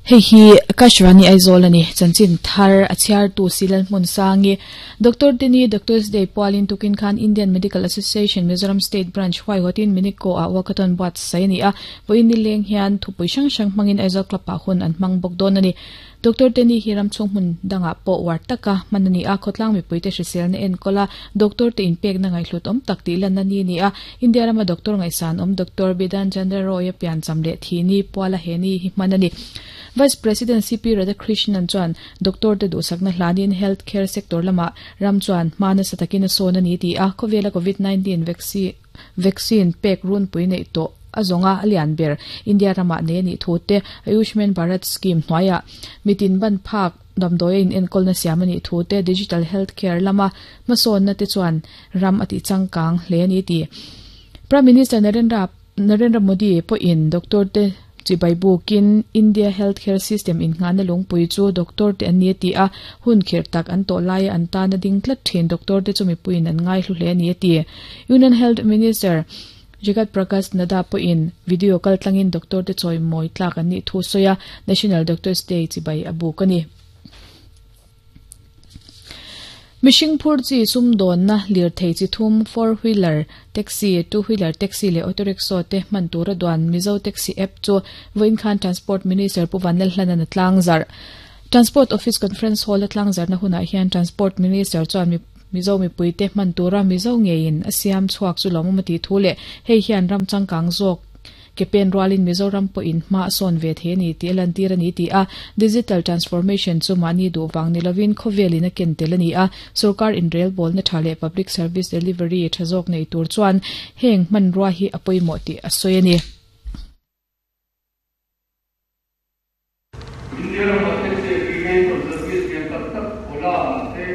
Hei hi Akashvani Aizawl a ni. Chanchin thar a chhiartu Silal Hmunsangi, Doctor Tini Doctors Day pualin tukin khan Indian Medical Association Mizoram State Branch huaihawtin Minico ah walkathon buatsaih a ni a. Vawiin nileng hian thupui hrang hrang hmangin Aizawl Club ah hun an hmang bawk dawn a ni. Doctor Tini hi ramchhung hmun dangah pawh uar taka hman a ni a, khawtlang mipuite hriselna enkawl a, doctor te inpekna ngaihhlut awm tak tih lanna ni a ni a. India rama doctor ngaihsan awm Doctor Bidhan Chandra Roy-a piancham leh thi ni puala he ni hi hman a ni. Vice President CP Radhakrishnan chuan doctor te duhsakna hlanin health care sector lamah ram chuan hma nasa takin a sawn a ni ti a, khawvela Covid 19 vaccine pek runpui neih tawh a zawnga a lian ber India ramah nei a nih thu te, Ayushman Bharat scheme hnuaiah mitin ban phak damdawi a inenkawlna siam a nih thu te, digital health care lama hmasawnna te chuan ram a tih changkang hle a ni ti. Prime Minister Narendra Narendra Modi pawhin doctor te chibai bukin India health care system innghahna lungpui chu doctor te an ni a ti a, hun khirh tak an tawh laia an tana ding tlat thin doctor te chu mipuiin an ngaihlu hle a ni a ti. Union Health Minister Jagat Prakash Nadda pawhin video kaltlangin doctor te chawimawi tlak an nih thu sawi a, National Doctors Day chibai a buk a ni. Mihring phur chi sumdawnna lirthei chi thum, four wheeler taxi, two wheeler taxi leh auto rickshaw te hman tura duan Mizo Taxi app chu vawiin khan Transport Minister Pu Vanlalhlana'n a tlangzarh. Transport Office Conference Hall a tlangzarhna hunah hian Transport Minister chuan Mizo mipuite hman tura Mizo ngeiin a siam chhuak chu lawmawm a tih thu leh hei hian ram changkang zawk Ke pen rualin Mizoram pawhin hma a sawn ve thei a ni tih a lantir a ni ti a, digital transformation chu mahni duh vang ni lovin khawvelin a ken tel a ni a, sorkar inrelbawlna tha leh public service delivery tha zawk nei tur chuan heng hmanrua hi a pawimawh tih a sawi a ni. India ramah taxi application service lian tak tak Ola te,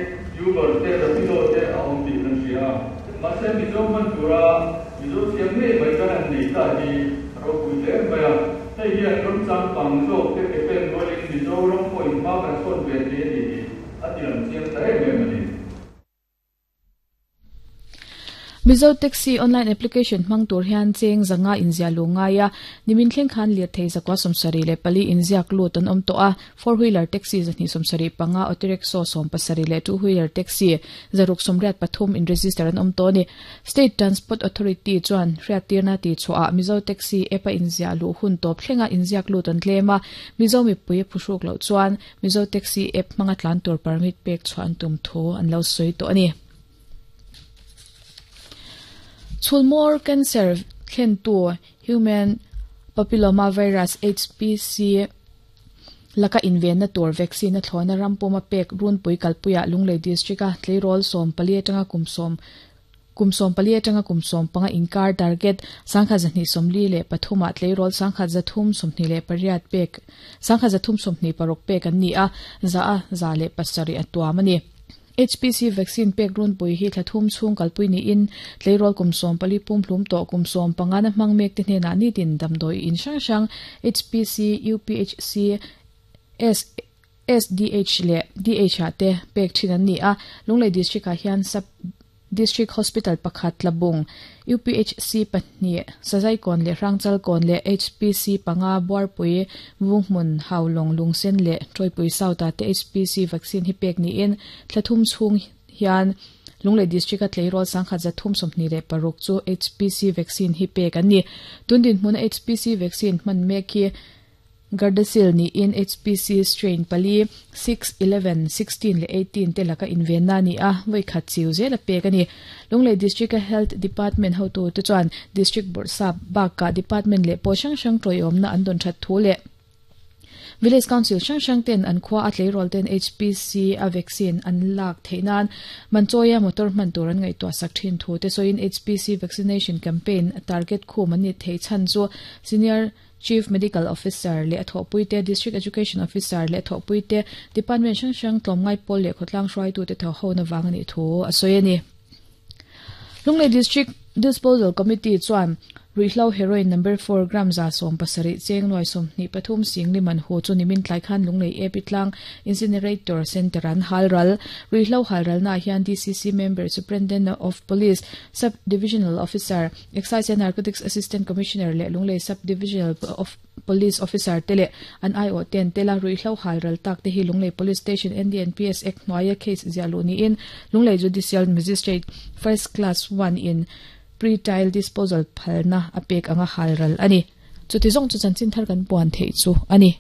Uber te, Rapido te a awm tih kan hria a. Mahse Mizo hman tura Mizo thiam ngei mai kan han nei ta hi a ropui hle mai a. Hei hian ram changkang zawk te ke pen rualin Mizoram pawhin hma kan sawn ve thei a ni tih a ti lang chiang ta em em a ni. Mizo Taxi online application hmang tur hian cheng zanga inziah luh ngai a, nimin thleng khan lirthei zakua 74 inziak lut an awm tawh a, four wheeler taxi 275, auto rickshaw 70 leh two wheeler taxi 683 in register an awm tawh a ni. State Transport Authority chuan hriattirna tihchhuahah Mizo Taxi app a inziah luh hun tawp thlenga inziak lut an tlem a, Mizo mipui a phuhruk loh chuan Mizo Taxi app hmanga tlan tur permit pek chhuah an tum thu an lo sawi tawh a ni. Chhulmawr cancer thlentu Human Papilloma Virus, HPC, laka invenna tur vaccine a thlawhna ram puma pek runpui kalpuiah Lunglei District-a tleirawl 14 atanga kum sawm Kum 14 atanga kum 15 inkar target 1243 ah tleirawl 1328 pek 326 pek an ni a, za a 107 a tuam a ni. HPC vaccine pek runpui hi thla thum chhung kalpui niin tleirawl kum 14 pumhlum tawh kum 15 na hmang mek te hnenah nitin damdawi in hrang hrang HPC, UPHC, S, SDH leh DH ah te pek thin an ni a, Lunglei District ah hian Sub District Hospital pakhat Tlabung, UPHC pahnih, Sazaikawn leh Hrangchalkawn leh HPC panga, Buarpui, Vunghmun, Haulawng, Lungsen leh Tawipui South ah te HPC vaccine hi pek niin thla thum chhung hian Lunglei District a tleirawl 1326 chu HPC vaccine hi pek an ni. Tun dinhmuna HPC vaccine hman mek hi Gardasil niin HPC strain pali, six, 11, 16 leh 18 te laka invenna a ni a, vawi khat chiu zel a pek a ni. Lunglei District-a Health Department hotute chuan District Bawrhsap bakah Department leh pawl hrang hrang tawiawmna an dawn that thu leh Village Council hrang hrang ten an khua a tleirawl ten HPC a vaccine an lak theih nan Manchawia motor hman tur an ngaihtuah sak thin thu te sawiin HPC vaccination campaign target khum an ni theih chhan chu Senior Chief Medical Officer leh a thawhpuite, District Education Officer leh a thawhpuite, Department hrang hrang tlawmngai pawl leh khawtlang hruaitute tho hona vang a nih thu a sawi a ni. Lunglei District Disposal Committee chuan Ruihhlo heroin number 4 gram 170 cheng nuai 23 singli man hu chu nimin tlai khan Lunglei AP tlang Incinerator Centre an halral. Ruihhlo halral na hian DCC member Superintendent of Police, Sub Divisional Officer, Excise and Narcotics Assistant Commissioner leh Lunglei Sub Divisional of Police Officer te leh an aiawh ten tela ruihhlo halral tak te hi Lunglei Police Station NDNPS Act hnuaia case ziah luh niin Lunglei Judicial Magistrate First Class 1 in Pre-trial disposal phalna a pek anga halral a ni. Chuti zawng chu chanchin thar kan puan theih chu a ni.